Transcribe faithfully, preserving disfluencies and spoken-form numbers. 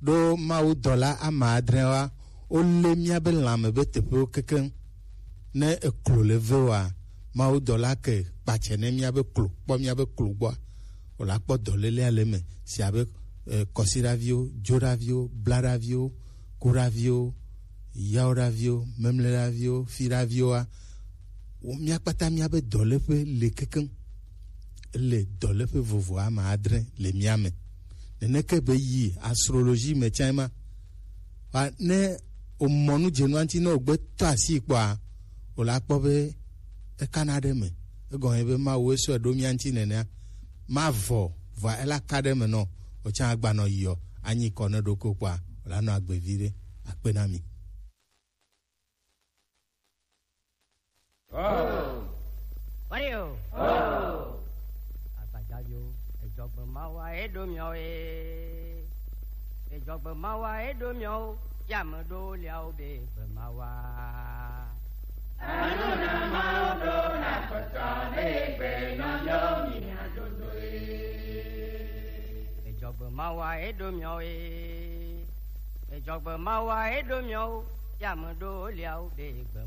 Ɖo Mawu dɔla ame adre wa, wolé míabe lãme be teƒewo kekeŋ. Ne eklo le ve wa, Mawu dɔla ke kpatsɛ ne míabe klo, kpɔ míabe klo gbɔa, wòla kpɔ dɔlélea le eme, si abe, eh, kɔsiɖaviwo, dzoɖaviwo, blaɖaviwo, kuɖaviwo, yawoɖaviwo, memleɖaviwo, fiɖaviwoa, wo, mía kpata míabe dɔléƒe le kekeŋ. Le dɔléƒe vovo ame adre le mía me. Neneke be yi astrologie me tsã ma. Wa ne wòmɔ nu dze nua ŋuti, ne wògbe tɔ asi kpɔa, wòla kpɔ be ekana ɖe me. Egɔme be Mawu esɔe ɖo mía ŋuti nenea. Mavɔ, vɔa ela ka ɖe me nɔ, wòtsã agbanɔ yiɔ, anyi kɔ ne ɖoko kpɔa, wòla nɔ agbe viɖe. Akpe na mi. Wario. Agbadzaviwo, edzɔgbe mawa eɖo miawo ye. Edzɔgbe mawa eɖo miawo, ya me ɖo liawo be gbe mawa. Anu na mawo ɖo na kpɔtɔ be gbe nɔ miawo mi na dodo ye. Edzɔgbe mawa eɖo miawo ye. Edzɔgbe mawa eɖo miawo, ya me ɖo liawo be gbe